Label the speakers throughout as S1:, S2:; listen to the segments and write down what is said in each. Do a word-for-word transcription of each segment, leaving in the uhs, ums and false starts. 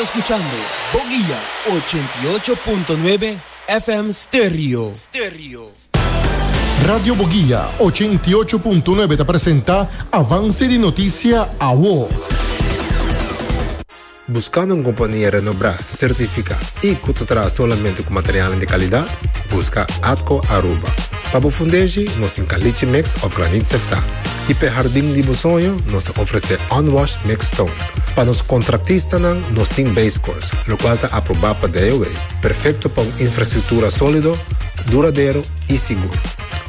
S1: Ta scuchando Boguia ochenta y ocho punto nuebe F M Stereo. Stereo.
S2: Radio Boguia ochenta y ocho punto nuebe ta presenta Avance di Noticia Awo.
S3: Buscando un compania renombra, certifica y cu ta traha solamente cu material di calidad? Busca Atco Aruba. Pa bo fundeshi, nos tin caliche mix of graniet sefta. Y pa hardin di bo soño, nos ta ofrece unwashed mixed stone. Pa nos contratistanan, nos tin base course, locual ta aproba pa D O W. Perfecto pa un infrastructura solido, duradero y sigur.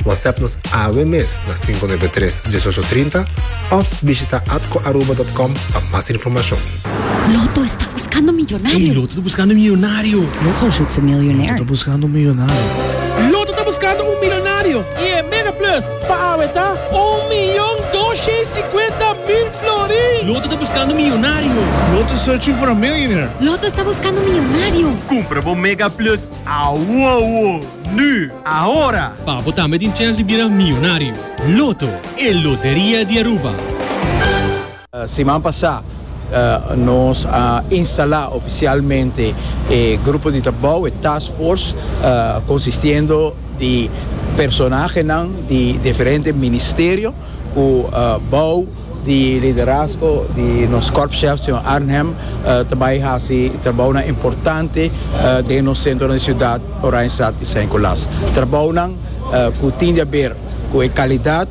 S3: WhatsApp nos awe mes na cinco nuebe tres uno ocho tres cero of bishita atcoaruba punto com pa mas informacion.
S4: Lotto está buscando millonario.
S5: Hey, Lotto ta buscando miyonario.
S4: Lotto zoekt een miljonair.
S6: Lotto buscando un miyonario.
S5: Lotto ta buscando un miyonario. Y e Mega Plus pa awe ta un miyon doscientos cincuenta mil florin. Lotto ta buscando miyonario.
S6: Lotto searching for a millionaire.
S4: Lotto está buscando millonario.
S7: Cumpra bo Mega Plus awo, nu, ahora.
S5: Pa bo tambe tin chance di bira miyonario. Lotto, e loteria di Aruba.
S8: Uh, siman pasa uh, nos a instala oficialmente e grupo di trabou, e task force, uh, consistiendo di personahe di diferente ministerio, cu uh, bou di liderazgo di nos korpschef, señor Arnhem, uh, tambe ta haci trabou importante uh, den nos centro di ciudad, Oranjestad y San Nicolas. Trabou uh, cu tin di haber cu e calidad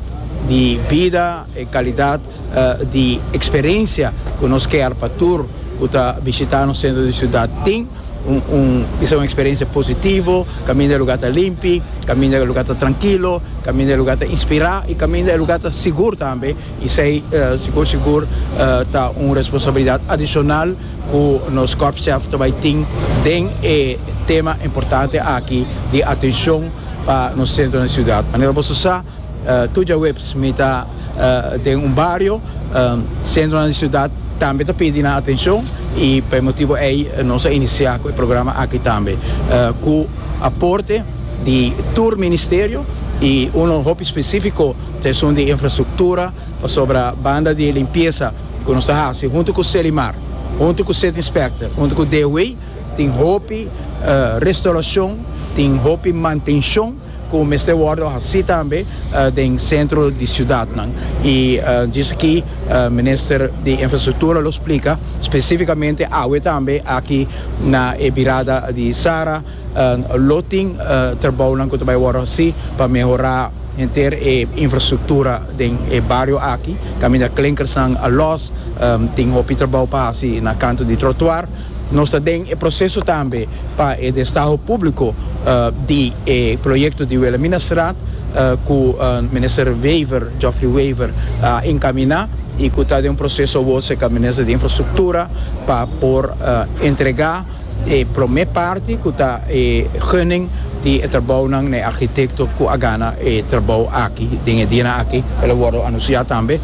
S8: di bida y calidad uh, di experiencia cu nos kier pa tur cu ta bishita nos centro di ciudad tin un, un, esey ta un experiencia positivo, caminda e lugar ta limpi, caminda e lugar ta trankil, caminda e lugar ta inspira y caminda e lugar ta sigur tambe. Y esey, uh, sigur, sigur, uh, ta un responsabilidad adicional cu nos korpschef tambe tin den e tema importante aki di atencion pa nos centro di ciudad. Manera bo sa, uh, tur diahuebs mi ta uh, den un bario, um, centro di ciudad tambe ta pidiendo atencion y pa e motibo ey nos a inicia cu e programa aki tambe, uh, cu aporte di tur ministerio y un hopi specifico ta di infrastructura sobre banda di limpiesa cu nos ta haciendo hunto cu Selimar, hunto cu City Inspector, hunto cu D O W, tin hopi uh, restauracion, tin hopi mantencion cu mester wordo haci tambe uh, den centro di ciudad nan. Y uh, dicir cu uh, minister di Infrastructura lo splica specificamente awe tambe aki na e birada di Sara uh, lo tin uh, trabou nan cu tambe wordo haci pa mehora henter e infrastructura den e bario aki, caminda klinkers nan a los, um, tin hopi trabou pa haci na canto di trottoir. Nos ta den e proceso tambe pa e destaho publico uh, di e proyecto di Wilhelminastraat, uh, cu uh, minister Wever, Geoffrey Wever, uh, encamina y cu ta den un proceso cu e minister di Infrastructura pa por uh, entrega e prome parti, cu ta e gunning di e trabou nan na arquitecto cu a gana e trabou aki den dia aki, el a wordo anuncia tambe.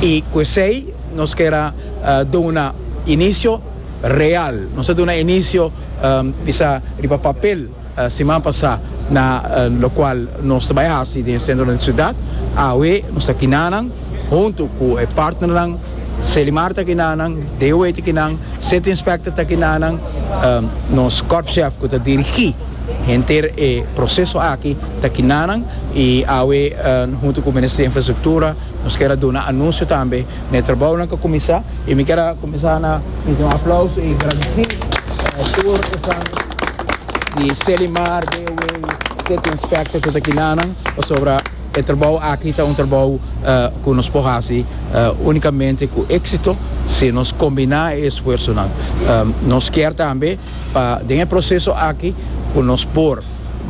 S8: Y cu esey nos kier uh, duna inicio real. Nos a duna inicio um, bisa riba papel uh, siman pasa na uh, locual nos ta bay haci den centro di ciudad. Awe nos ta akinan hunto cu e partner Selimar ta akinan, D O W ta akinan, City Inspector ta akinan, um, nos korpschef cu ta dirigi henter e proceso aki ta akinan y awe uh, hunto cu e Minister di Infrastructura nos kier duna anuncio tambe na trabou cu a cuminsa. Y mi kier cuminsa na un aplauso y gradici uh, tur di Selimar, D O W, City Inspector cu ta akinan sobre e trabou aki. Ta un trabou uh, cu nos por haci uh, unicamente cu exito si nos combina e esfuerso nan. Um, nos kier tambe pa den e proceso aki cu nos por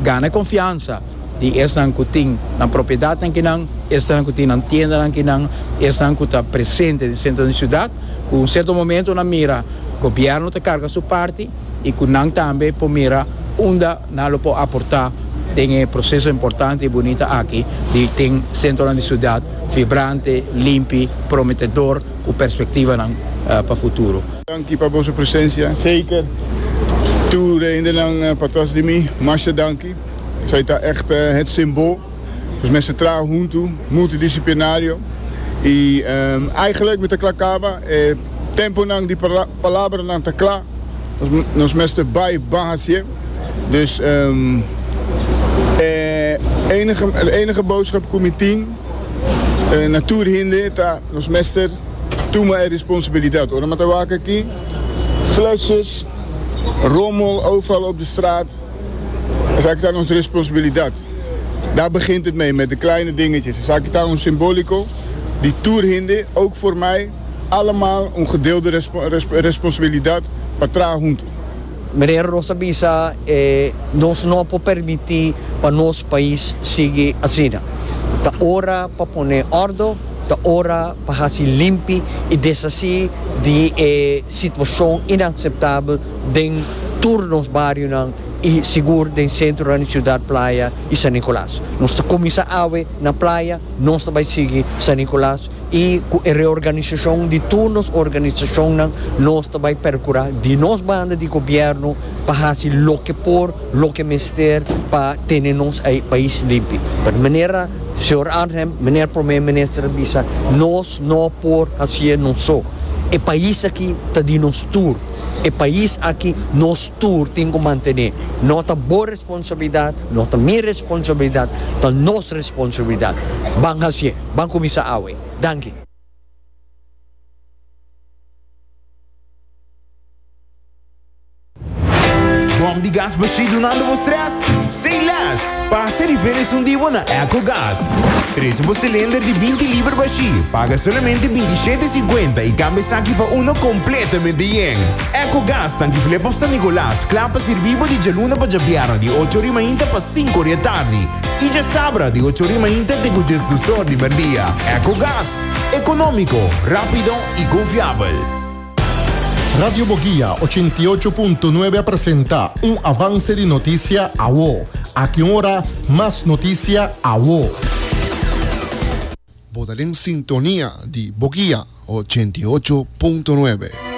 S8: gana confiansa di esnan cu tin nan propiedad akinan, esnan cu tin nan tienda akinan, esnan cu ta presente den centro di ciudad, cu un cierto momento nan mira gobierno ta carga su parti y cu nan tambe por mira unda nan lo por aporta den e proceso importante y bunita aki di tin centro di ciudad vibrante, limpi, prometedor, cu perspectiva nan, uh, pa futuro.
S9: Danki pa boso presencia. Zeker. Tur hendenan patras di mi, masha danki. Esey ta echt uh, het symbool. Dus mester traha hunto, multidisciplinario. Y um, eigenlijk mi ta cla caba, eh, tempo nan di palabra nan ta cla. Nos mester bai ban hasié. Dus um, eh, enige, enige boodschap ku mi tin eh, na tur hende ta nos mester tuma e responsabilidat. Ora mi ta wak aki, flesjes, rommel overal op de straat. Esaki ta nos responsabilidat. Daar begint het mee, met de kleine dingetjes. Esaki ta un simbóliko di tur hende, ook voor mij, allemaal een gedeelde respo resp responsabilidat pa traha huntu.
S10: Meneer nos a bisa, eh, nos no por permití pa nos pais sigui asina. Ta ora pa pone òrdu, ta ora pa hasi limpi i deshasí di e situashon inakseptabel den tur nos barionan i sigur den sentro di siudat Playa i San Nicolas. Nos ta kuminsá awe na Playa, nos ta bai sigui San Nicolas i ku e reorganisashon di tur nos organisashonnan nos ta bai perkurá di nos banda di gobièrnu pa hasi loke por, loke mester pa tene nos pais limpi. Pero manera señor Arnhem, meneer Prome Minister a bisa, nos no por hasié nos so. E pais aki ta di nos tur. E pais aki nos tur tin ku mantené. No ta bo responsabilidat, no ta mi responsabilidat, ta nos responsabilidat. Ban hasié, ban kuminsá awe. Danki.
S11: Bom di gas bashí dunando bo stress? Say less! Pasa riba esun di bo na Ecogas. Trese bo silinder di binti liber bashí. Paga solamente binti shete sinkuenta i kambia esaki pa uno kompletamente yen. Ecogas tanki Flip of San Nicolas, kla pa sirbi bo di djaluna pa djabièrnè di ocho ori mainta pa sinku ori atardi i djasabra di ocho ori mainta te ku djesdos or di merdia. Ecogas, ekonómiko, rápido i konfiabel.
S2: Radio Boguia ochenta i ocho punto nuebe a presenta un avance di noticia awo. Aki un ora, mas noticia awo.
S12: Bo ta den sintonia di Boguia ochenta i ocho punto nuebe.